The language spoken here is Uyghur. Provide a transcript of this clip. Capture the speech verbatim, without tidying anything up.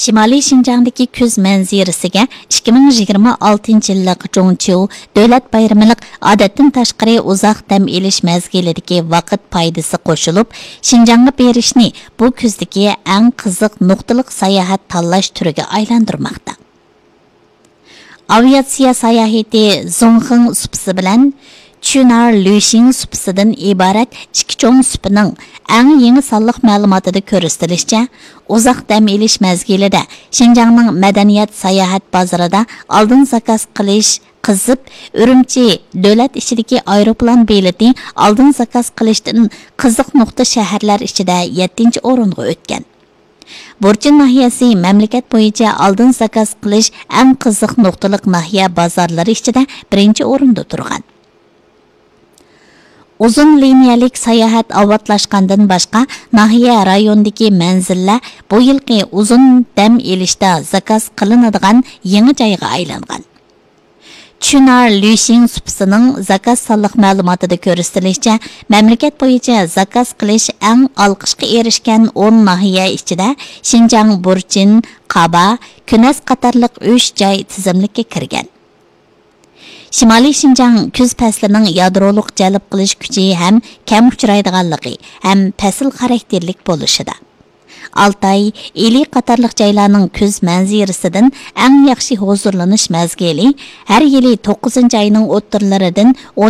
شىمالىي شىنجاڭدىكى كۈز مەنزىرىسىگە ئىككى مىڭ يىگىرمە ئالتىنچى يىللىق جۇڭچيۇ دۆلەت بايرىمىلىق ئادەتتىن تاشقىرى ئۇزاق دەم ئېلىش مەزگىلىدىكى ۋاقىت پايدىسى قوشۇلۇپ، شىنجاڭغا بېرىشنى بۇ كۈزدىكى ئەڭ قىزىق نۇقتىلىق ساياھەت تاللاش تۈرىگە ئايلاندۇرماقتا. ئاۋىئاتسىيە ساياھىتى زۇڭخېڭ سۇپىسى بىلەن چۈنار لۈشىڭ سۇپىسىدىن ئىبارەت ئىككى چوڭ سۇپىنىڭ ئەڭ يېڭى سانلىق مەلۇماتىدا كۆرسىتىلىشىچە، ئۇزاق دەم ئېلىش مەزگىلىدە شىنجاڭنىڭ مەدەنىيەت ساياھەت بازىرىدا ئالدىن زاكاز قىلىش قىزىپ، ئۈرۈمچى دۆلەت ئىچىدىكى ئايروپىلان بېلىتى ئالدىن زاكاز قىلىشتىن قىزىق نۇقتا شەھەرلەر ئىچىدە يەتتىنچى ئورۇنغا ئۆتكەن. بۇرچىن ناھىيەسى مەملىكەت بويىچە ئالدىن زاكاز قىلىش ئەڭ قىزىق نۇقتىلىق ناھىيە بازارلىرى ئىچىدە بىرىنچى ئورۇندا تۇرغان. ئۇزۇن لىنىيەلىك ساياھەت ئاۋاتلاشقاندىن باشقا، ناھىيە رايوندىكى مەنزىللەر بۇ يىلقى ئۇزۇن دەم ئېلىشتا زاكاز قىلىنىدىغان يېڭى جايغا ئايلانغان. چۈنار لۈشىڭ سۇپىسىنىڭ زاكاز سانلىق مەلۇماتىدا كۆرسىتىلىشىچە، مەملىكەت بويىچە زاكاز قىلىش ئەڭ ئالقىشقا ئېرىشكەن ئون ناھىيە ئىچىدە شىنجاڭ بۇرچىن، قابا، كۈنەس قاتارلىق ئۈچ جاي تىزىملىككە كىرگەن. شىمالىي شىنجاڭ كۈز پەسلىنىڭ يادرولۇق جەلپ قىلىش كۈچى ھەم كەم ئۇچرايدىغانلىقى ھەم پەسىل خاراكتېرلىك بولۇشىدا. ئالتاي، ئىلى قاتارلىق جايلارنىڭ كۈز مەنزىرىسىدىن ئەڭ ياخشى ھۇزۇرلىنىش مەزگىلى ھەر يىلى توققۇزىنچى ئاينىڭ ئوتتۇرىلىرىدىن